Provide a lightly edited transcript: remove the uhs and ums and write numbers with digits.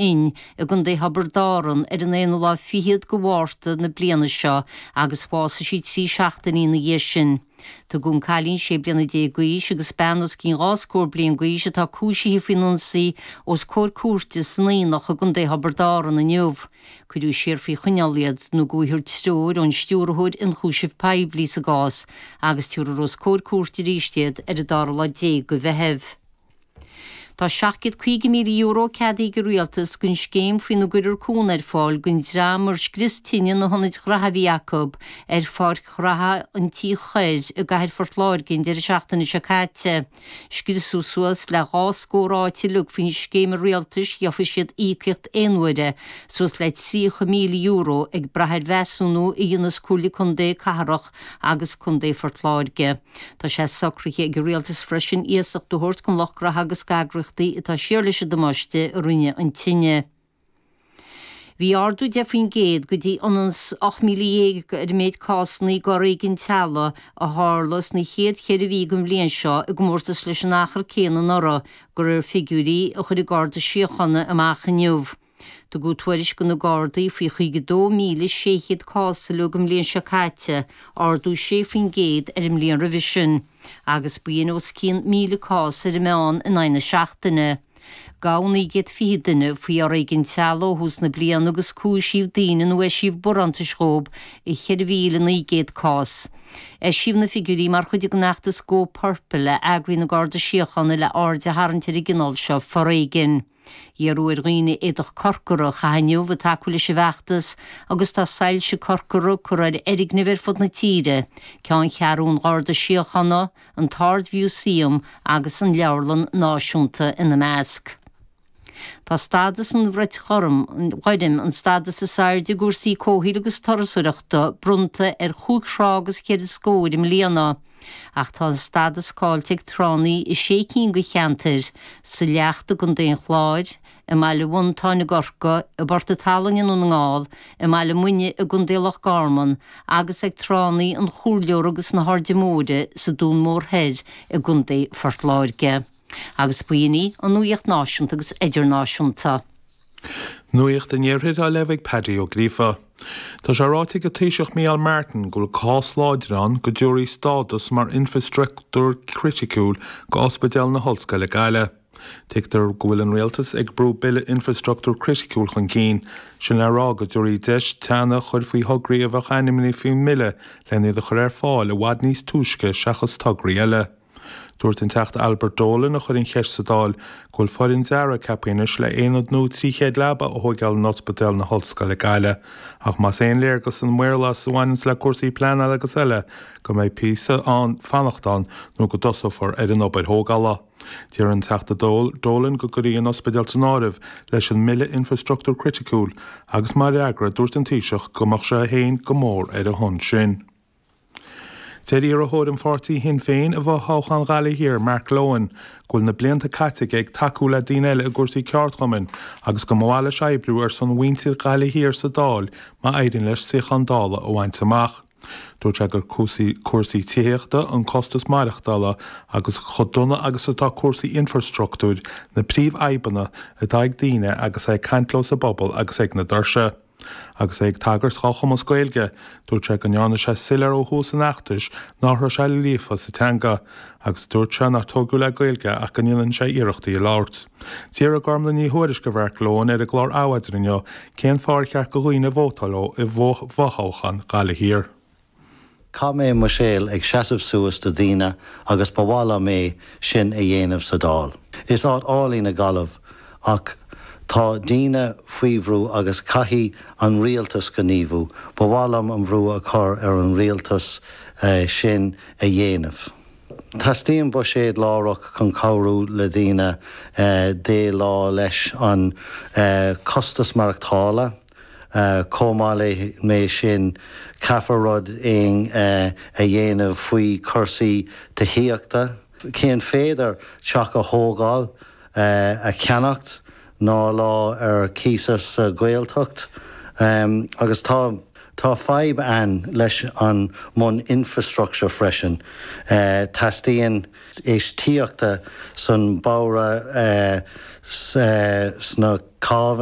Fhinn i gContae Thiobraid Árann ar an aonú lá fichead de Mhárta na bliana seo agus bhásaigh sí 3 seachtainí ina dhiaidh sin. Tugadh an cailín 16 bliana d'aois agus bean os cionn dhá scór bliain d'aois atá cúisithe faoin ionsaí os comhair cúirte san Aonach i gContae Thiobraid Árann inniu. Cuireadh siar faoi choinneáil iad nó go bhfaighfear treoir ón Stiúrthóir Ionchúiseamh Poiblí sa gcás agus tabharfar os comhair cúirte arís iad ar an dara lá déag de Mheitheamh. Tá €750,000 ceadaithe ag an Rialtas don scéim faoina gcuirfear cúnamh ar fáil don dream ar scrios tine na hionaid ghraithe a bhí acu ar Pháirc Ghraithe an Tí Thoir i gcathair Phort Láirge an deireadh seachtaine seo caite. Scriosadh suas le dhá scór áit uilig faoin scéim an Rialtais gheobhaidh siad íocaíocht aonuaire suas le €30,000 ag brath ar mheasúnú a dhéanfas Comhairle Contae Cathrach agus Contae Phort Láirge. Tá sé socraithe ag an Rialtas freisin iasacht a thabhairt don lucht graithe agus d'eagraíochtaí atá siar leis an damáiste a rinne an tine. Bhí ardú 10% go dtí ionann 's 18,000 ar an méid cásanna d'fhoréigean teaghlaigh a tharla sna chéad cheithre mhí den bhliain seo i gcomórtas leis an achar céanna anuraidh, de réir figiúirí a chuir an Garda Síochána amach inniu. Tugadh tuairisc do na Gardaí faoi 52,600 cás uilig an bhliain seo caite, ardú 6% ar an mbliain roimhe sin, agus b'in os cionn 1,000 cás ar an meán in aghaidh na seachtaine. Gabhadh 920 duine faoi fhoréigean teaghlaigh ó thús na bliana agus cúisíodh daoine nó eisíodh barántais dhóibh i 4,900 cás. Eisíodh na figiúirí mar chuid den fheachtas Go Purple a eagraíonn an Garda Síochána le aird a tharraingt ar an gcineál seo foréigin. Iarradh ar dhaoine éadach corcra a chaitheamh inniu ag tacú leis an bhfeachtas agus tá soilse corcra curtha ar fhoirgnimh ar fud na tíre, Ceanncheathrú an Gharda Síochána, an tArd-Mhúsaem agus an Leabharlann Náisiúnta ina measc. Tá stádas an Bhrait Ghoirm, an stádas is airde i gcúrsaí comhshaoil agus turasóireachta, bronnta ar chúig thrá agus cheithre scór i mbliana. Ach tá an stádas caillte ag tránna i sé cinn de cheantair, sa Leacht i gContae an Chláir, i mBaile Mhantáin i gCorcaigh, i bPort an tSalainn i nDún na nGall, i mBaile Muine i gContae Loch Garman agus ag tránna an Chomhairleora agus na hAirde Móire sa Dún Mór Thoir i gContae Phort Láirge. Agus b'in í an nuaíocht náisiúnta agus idirnáisiúnta. Nuacht an Iarthair á léamh ag Paddy Ó Gríofa. Tá sé ráite ag an Taoiseach Micheál Martin go bhfuil cás láidir ann go dtabharfaí stádas mar infreastruchtúr criticiúil go Ospidéal na hOllscoile Gaillimh. Tuigtear go bhfuil an Rialtas ag brú Bille Infreastruchtúr Criticiúil chun cinn, sin le rá go dtabharfaí deis teannadh a chur faoi thograí a bheadh ainmnithe faoin mbille len iad a chur ar fáil i bhfad níos túisce seachas tograí eile. Dúirt an Teachta Albert Dolan, a chuir an cheist sa Dáil, go bhfuil foireann dearaidh ceaptha anois le aonad nua 300 leaba a thóigeáil in Ospidéal na hOllscoile Gaillimh ach más aon léargas an maorlathas a bhaineanns le cúrsaí pleanála agus eile go mbeidh píosa ann fanacht ann nó go dtosófar ar an obair thógála. D'iarr an Teachta Dolan go gcuirfí an ospidéal san áireamh leis an mBille Infreastruchtúr Criticiúil agus mar fhreagra dúirt an Taoiseach go mbeadh sé féin go mór ar a shon sin. Deir iarrthóir an pháirtí Shinn Féin i bhfothoghchán Ghaillimh Thiar, Mark Lohan, go bhfuil na blianta caite aige ag tacú le daoine eile i gcúrsaí ceardchumainn agus go mba mhaith leis oibriú ar son mhuintir Ghaillimh Thiar sa Dáil má éiríonn leis suíochán Dála a bhaint amach. Dúirt sé gur cúrsaí tithíochta, an costas maireachtála agus chomh dona agus atá cúrsaí infreastruchtúir na príomhfhadhbanna atá ag daoine agus é ag caint leo sa bpobal agus ag na doirse. Agus é ag tagairt dhá chumas Gaeilge, dúirt sé go ndearna sé soiléir ó thús an fheachtais nach raibh sé líofa sa teanga, agus dúirt sé nár tógadh le Gaeilge ach go ndéanann sé iarracht í a labhairt. D'fhiafraigh Gormlaith Ní Thuairisg de Mhark Lohan ar an gclár Adhmhaidin inniu cén fáth ar cheart do dhaoine vótáil dó i bhfothoghchán Ghaillimh Thiar. Chaith mé mo shaol ag seasamh suas do daoine agus ba mhaith liom é sin a dhéanamh sa Dáil. Is áit álainn í Gaillimh ach tá daoine faoi bhrú agus caithfidh an rialtas gníomhú. Ba mhaith liom an bhrú a chur ar an rialtas sin a dhéanamh. Teastaíonn buiséad láithreach chun cabhrú le daoine déileáil leis an costas maireachtála. Chomh maith leis sin, caithfear rud éigin a dhéanamh faoi chúrsaí tithíochta. Cén féidir teach a thógáil, a cheannacht ná lá ar cíos sa Ghaeltacht. Agus tá tá fadhb ann leis an mbun infrastructure freisin. Teastaíonn infheistíochta san bóithre sna cábhanna.